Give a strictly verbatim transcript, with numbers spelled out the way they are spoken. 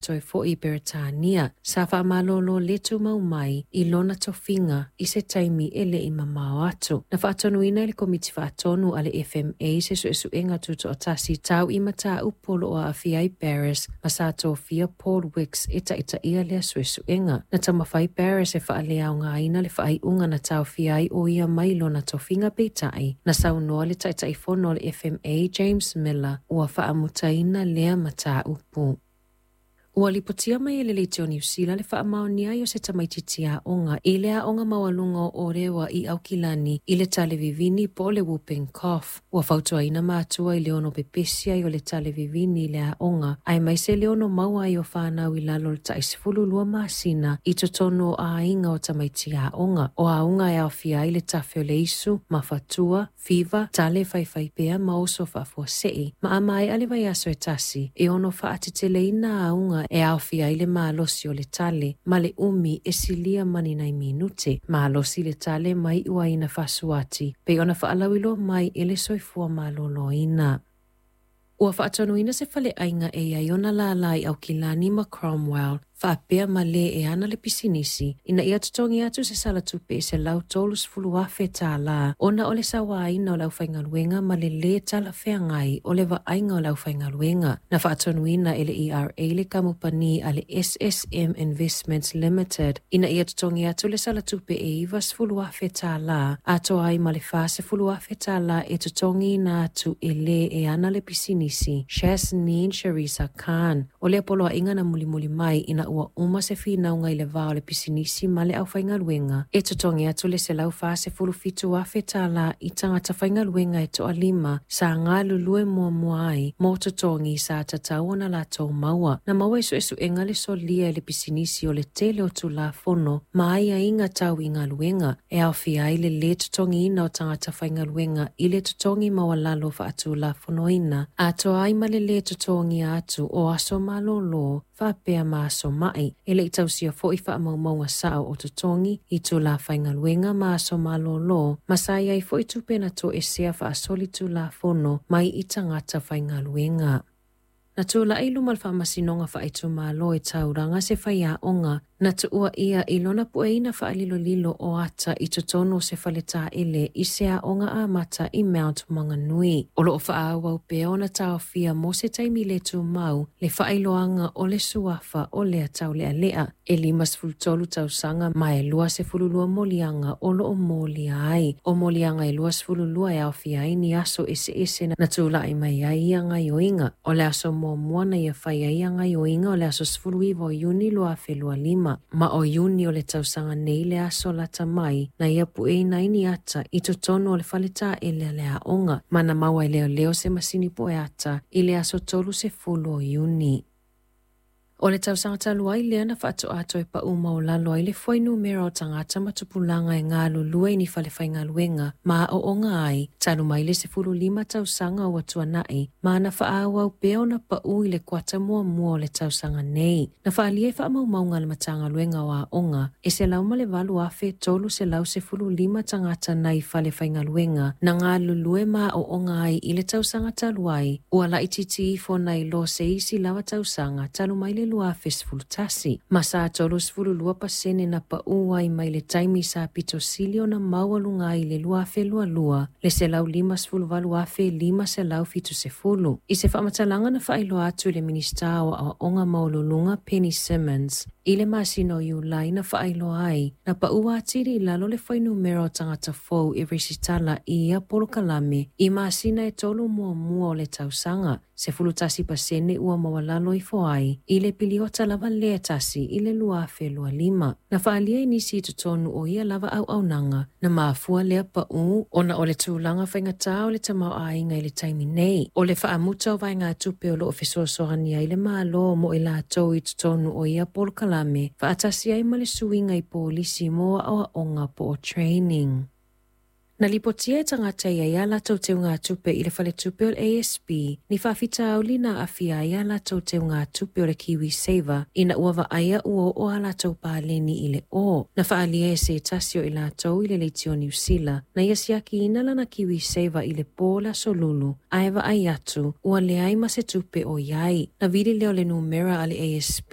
Toe foi i Peretania, sa faamalolo le tumau mai i lona tofiga i se taimi e le i mamao atu. Na faatonuina e le Komiti Faatonu a le F M A se suesuega tutoatasi tau i mataupu o lo o aafia ai Barris ma sa tofia Paul Wicks e taitaia lea suesuega. Na taumafai Barris e faaleaogaina le faaiuga na taofia ai o ia mai lona tofiga peitai, na saunoa le taitaifono o le F M A James Miller ua faamutaina lea mataupu. Ua lipotia mai e le leitio Niu Sila le faamaonia ai o se tamaitiiti aoga i le aoga maualuga o Orewa i Aukilani i le tale vivini po o le whooping cough. Ua fautuaina matua i le ono pepesi ai o le tale vivini i le aoga, aemaise le ono maua ai o whānau i lalo o le tai sefulu lua masina i totonu o aiga o tamaiti aoga. O aoga e aofia ai le tafe o le isu, mafatua, fiva, tale faifaipea ma oso faafuasei. Ma a maea le vaiaso e tasi, e ono faateteleina auga e aofia ai le malosi o le tale, ma le umi e silia mani nai minute. Malosi le tale mai uaina fasuati, pe ona faalauiloa mai e le soifua maloloina. Ua faatonuina se faleaiga e iai ona lala i Aukilani ma Cromwell, faapea ma le e ana le pisinisi, ina ia totogi atu se salatupe e selau tolu sefulu afe tālā, ona o le sauaina o le aufaigaluega ma le lē talafeagai o le vaaiga o le aufaigaluega. Na faatonuina e le E R A le kamupani a le S S M Investments Limited, ina ia totogi atu le salatupe e iwa sefulu afe tālā, atoa ai ma le fa sefulu afe tālā e totogiina atu e lē e ana le pisinisi, Shasneen Sharisa Khan. O lea poloaiga na mulimuli mai ina ua uma se whinauga i le vā o le pisinisi ma le aufaigaluega, e totogi atu le selau fa sefulu fitu afe tālā i tangata faigaluega e toalima sa galulue muamua ai mō totogi sa tatau ona latou maua. Na maua i suesuega le solia e le pisinisi o le tele o tulafono ma aiaiga tau i galuega, e aofia ai le lē totogiina o tangata faigaluega i le totogi maualalo faatulafonoina, atoa ai ma le lē totogia atu o aso malōlō faapea ma aso mai, e le i tausia foi faamaumauga sao o totogi i tulafaigaluega ma aso malōlō, ma sa iai foi tupe na toesea faasoli tulafono mai i tagata faigaluega. Na tūla'i luma le faamasinoga faaitumalo e tauranga se faiaoga na tuua ia i lona pueina faalilolilo o ata i totonu o se faletaele i se aoga amata i Mount Maunganui. O loo faaauau pea ona taofia mo se taimi le tumau le faailoaga o le suafa o lea taulealea e lima sefulu tolu tausaga ma e lua sefulu lua moliaga o loo molia ai. O moliaga e lua sefulu lua e aofia ai ni aso eseese na tula'i mai ai ia gaioiga. O le aso muamua na ia fai ai ia gaioiga o le aso sefulu iva o Iuni lua afe lua lima. Ma o Iuni o le tausaga nei le aso lata mai na ia pueina ai ni ata i totonu o le faletaele a le aoga, ma na maua e leoleo se masini poe ata i le aso tolu sefulu o Iuni. O le tausaga talu ai lea na faatoatoa e pau maulalo ai le fuainumera o tagata ma tupulaga e galulue i ni falefaigaluega ma aoaoga ai, talu mai le sefulu lima tausaga ua tuana'i, ma na faaauau pea ona pau i le kuata muamua o le tausaga nei. Na faaalia i faamaumauga a le Matagaluega o Aoga, e selau ma le valu afe tolu selau sefulu lima tagata nai falefaigaluega na galulue ma aoaoga ai i le tausaga talu ai, ua laitiiti ifo nai lo se isi lava tausaga talu mai le lua afe sefulu tasi. Ma sa tolu sefulu lua pasene na pau ai mai le taimi sa pitosili ona maualuga ai le lua afe lua lua, le selau lima sefulu valu afe lima selau fitu sefulu. I se faamatalaga na faailoa atu i le Minisita o Aoaoga Maualuluga Penny Simmons, i le masina o Iulai na faailoa ai, na paua atili i lalo le fuainumera o tagata fou e resitala i ia polokalame i masina e tolu muamua o le tausaga, sefulu tasi pasene ua maualalo ifo ai i le piliota lava lea tasi i le lua afe lua lima. Na faaalia i nisi i totonu o ia lava auaunaga, na mafua lea pau ona o le tulaga faigatā o le tamaoaiga i le taimi nei. O le faamuta o vaegatupe o loo fesoasoani ai le Malo mo i latou i totonu o ia polokalame, faatasi ai ma le suiga i polisi mo aoaoga po o training. Na lipotia e tagata ia ia latou teugatupe i le faletupe o le A S B, ni faafitauli na aafia ai a latou teugatupe o le Kiwi Saver, ina ua vaaia ua oo a latou paleni i le o. Na faaalia e se tasi o i latou i le leitio Niu Sila, na ia siakiina lana Kiwi Saver i le pō le aso Lulu, ae vaai atu ua leai ma se tupe o iai. Na vili lea o le numera a le A S B